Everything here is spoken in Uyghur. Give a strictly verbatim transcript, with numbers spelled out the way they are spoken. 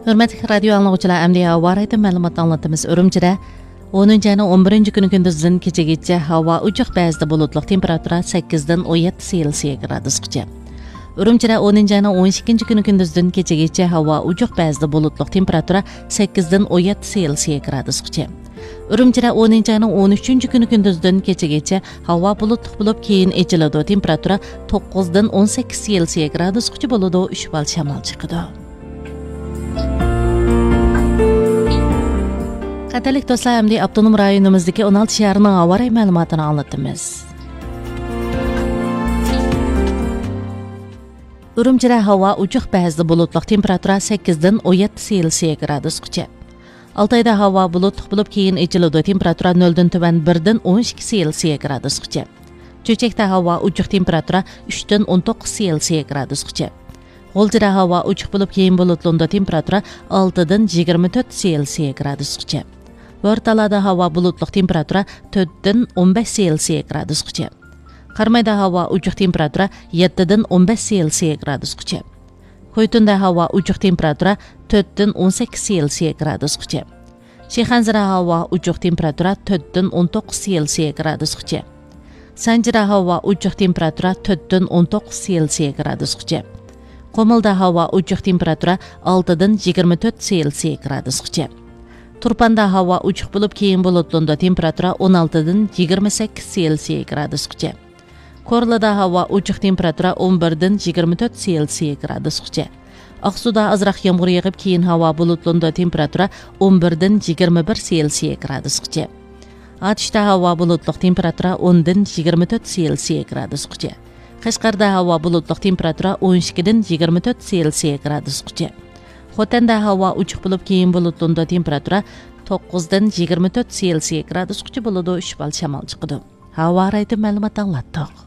ھۆرمەتلىك رادىيو ئاڭلىغۇچىلار، ئەمدى ھاۋا رايىتىن مەلۇمات ئاڭلىتىمىز. ئۈرۈمچىدە ئونىنچى ئاينىڭ ئون بىرىنچى كۈنى كۈندۈزدىن كېچىگىچە ھاۋا ئوچۇق، بەزىدە بۇلۇتلۇق، تېمپېراتۇرا سەككىزدىن ئون يەتتە سېلسىيە گرادۇسقىچە. ئۈرۈمچىدە ئونىنچى ئاينىڭ ئون ئىككىنچى كۈنى كۈندۈزدىن كېچىگىچە ھاۋا ئوچۇق، بەزىدە بۇلۇتلۇق، تېمپېراتۇرا سەككىزدىن ئون يەتتە سېلسىيە گرادۇسقىچە. ئۈرۈمچىدە ئونىنچى ئاينىڭ ئون ئۈچىنچى كۈنى كۈندۈزدىن كېچىگىچە ھاۋا بۇلۇتلۇق بولۇپ، كېيىن ئېچىلىدۇ، تېمپېراتۇرا توققۇزدىن ئون سەككىز سېلسىيە گرادۇسقىچە بولىدۇ، ئۈچ بال شامال چىقىدۇ. قەدىرلىك دوستلار، ئەمدى ئاپتونوم رايونىمىزدىكى ئون ئالتە شەھەرنىڭ ھاۋا رايى مەلۇماتىنى ئاڭلىتىمىز. ئۈرۈمچىدە ھاۋا ئوچۇق، بەزىدە بۇلۇتلۇق، تېمپېراتۇرا سەككىزدىن ئون يەتتە سېلسىيە گرادۇسقىچە. ئالتايدا ھاۋا بۇلۇتلۇق بولۇپ، كېيىن ئېچىلىدۇ، تېمپېراتۇرا نۆلدىن تۆۋەن بىردىن ئون ئىككى سېلسىيە گرادۇسقىچە. چۆچەكتە ھاۋا ئوچۇق، تېمپېراتۇرا ئۈچتىن ئون توققۇز سېلسىيە گرادۇسقىچە. غۇلجىدا ھاۋا ئوچۇق بولۇپ، كېيىن بۇلۇتلىنىدۇ، تېمپېراتۇرا ئالتىدىن يىگىرمە تۆت سېلسىيە گرادۇسقىچە. بورتالادا ھاۋا بۇلۇتلۇق، تېمپېراتۇرا تۆتتىن ئون بەش سېلسىيە گرادۇسقىچە. قارامايدا ھاۋا ئوچۇق، تېمپېراتۇرا يەتتىدىن ئون بەش سېلسىيە گرادۇسقىچە. خويتۇندا ھاۋا ئوچۇق، تېمپېراتۇرا تۆتتىن ئون سەككىز سېلسىيە گرادۇسقىچە. شىخەنزىدە ھاۋا ئوچۇق، تېمپېراتۇرا تۆتتىن ئون توققۇز سېلسىيە گرادۇسقىچە. سانجىدا ھاۋا ئوچۇق، تېمپېراتۇرا تۆتتىن ئون توققۇز سېلسىيە گرادۇسقىچە. قۇمۇلدا ھاۋا ئوچۇق، تېمپېراتۇرا ئالتىدىن يىگىرمە تۆت سېلسىيە گرادۇسقىچە. تۇرپاندا ھاۋا ئوچۇق بولۇپ، كېيىن بۇلۇتلىنىدۇ، تېمپېراتۇرا ئون ئالتىدىن يىگىرمە سەككىز سېلسىيە گرادۇسقىچە. كورلىدا ھاۋا ئوچۇق، تېمپېراتۇرا ئون بىردىن يىگىرمە تۆت سېلسىيە گرادۇسقىچە. ئاقسۇدا ئازراق يامغۇر يېغىپ، كېيىن ھاۋا بۇلۇتلىنىدۇ، تېمپېراتۇرا ئون بىردىن يىگىرمە بىر سېلسىيە گرادۇسقىچە. ئاتۇشتا ھاۋا بۇلۇتلۇق، تېمپېراتۇرا ئوندىن يىگىرمە تۆت سېلسىيە گرادۇسقىچە. قەشقەردە ھاۋا بۇلۇتلۇق، تېمپېراتۇرا ئون ئىككىدىن يىگىرمە تۆت سېلسىيە گرادۇسقىچە. خوتەندە ھاۋا ئوچۇق بولۇپ، كېيىن بۇلۇتلىنىدۇ، تېمپېراتۇرا توققۇزدىن يىگىرمە تۆت سېلسىيە گرادۇسقىچە بولىدۇ، ئۈچ بال شامال چىقىدۇ. ھاۋا رايىتىن مەلۇمات ئاڭلاتتۇق.